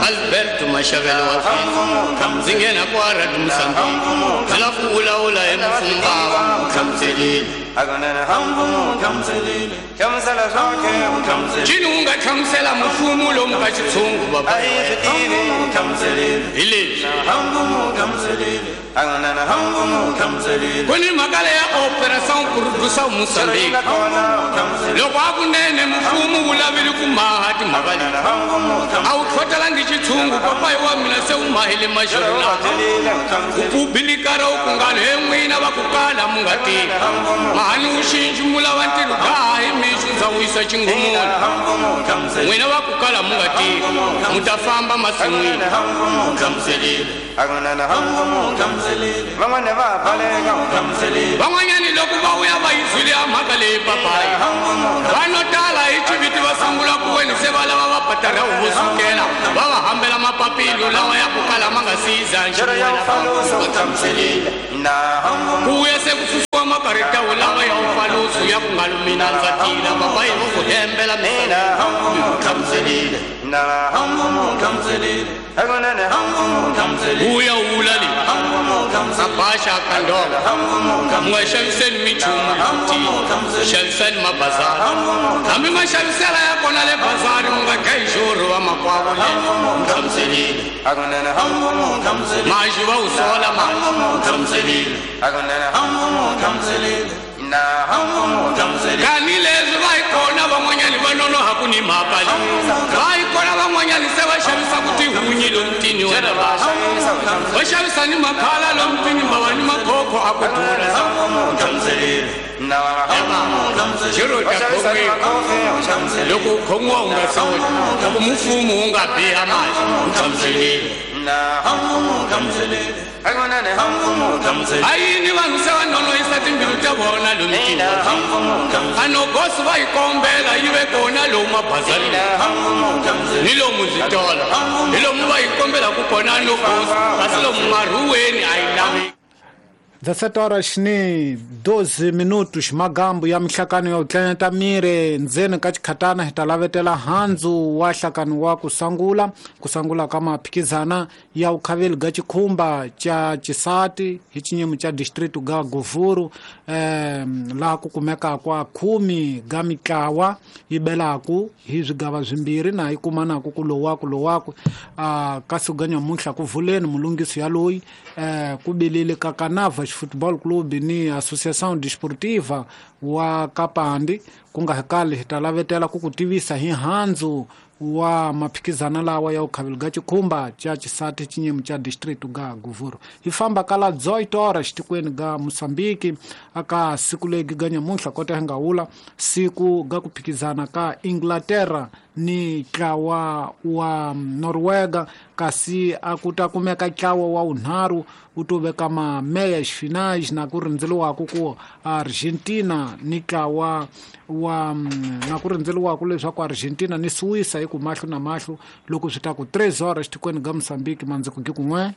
Alberto Mashavelo wa fika ndzi nghena kwa Radio Mozambique ndzi lava ku vulavula hi mfumo hlamuselile cini u nga hlamusela mfumo lomu ka xitshungu baba hi leswi ku ni mhaka leya Operação Produção Moçambique loko a kunene mfumo wu lavile ku maha timhaka leti a wu tlhotelangi xitshungu papayi wa mina se wu mahile maxorina u pubilikara u ku ngalo he n'wina va ku kala mu nga tivi mahani wu xinxi mu lava ntirho gaha hi mixo ndza wisa xingumula n'wina va ku kala mu nga tivi mu ta famba masin'wini hlamuselile van'wanyani loko va vuya va yizwile ya mhaka leyi papayi vanhu tala hi xiviti va sungula ku weni se va lava va patara vo sukela va va hambela mapapilo lawa ya ku kala ma nga siza nxin'wana ku vuya se ku susiwa makarita wo lawa ya ufalusu ya ku nga lumina ndza tila papayi vo ku hembela mina hlamuselile uya wula le abasha kandolo mu nga xaviseni minchumu leti xaviseni mabazari hambi ma xavisela ya kona le bazari mu nga dlayi xurhu va makwavo le hlamuselile maxi va wu sola maxi hlamuselile kani leswi va yi kona van'wanyani va nonoha ku ni mhaka leyi va yi kona van'wanyani se va xavisaku tihunyi lomutini wena va xavisa ni makhala lomutini mava ni makhokho a ku dura xiro ta khomiwa loko u khomiwa u nga soli loko mfumo wu nga biha maxi u hlamuselile a yini vanhu se va nonohisa timbilu ta vona lomutini a nogosi va yi kombela yi ve kona lomu mabazarini ni lomu zvitolo hi lomu va yi kombelaku kona nogosi kasi lomu marhuweni a yi laveki 17 horas ni 12 minutos magambu ya mihlakano ya utlanyata mire ndzeni ka chikhatana hi ta lavetela handzu wa hlakano wa kusangula ka maphikizana ya ukhaveli ga chikhumba cha chisati hi chinyemu cha distrito ga Govuro laha ku kumeka kwa 10 ga mitlawa yi belaku hi swigava swimbirhi na yi kumanaku ku lowaku kasi ga nyamuntlha ku vuleni mulungisi ya loyi ku bilile ka Kanava Football Club ni Associação Desportiva wa Kapandi ku nga hikali hi ta lavetela ku ku tivisa hi handzu wa maphikizana lawa ya ukhaveli ga chikhumba cha chisati chinyemu cha distrito ga Govuro hi famba kala 18 horas tikweni ga Mozambique aka siku legi ga nyamuntlha kota hi nga wula siku ga ku phikizana ka Inglaterra ni tlawa wa Norwega kasi a ku ta kumeka tlawa wa unharhu wu to veka ma meias finais na ku rindzeliwaku ku Argentina ni tlawa wa na ku rindzeliwaku leswaku Argentina ni Suíça hi ku mahlo na mahlo loko swi ta ku 3 horas tikweni ga Mozambique mandziko gi kun'we.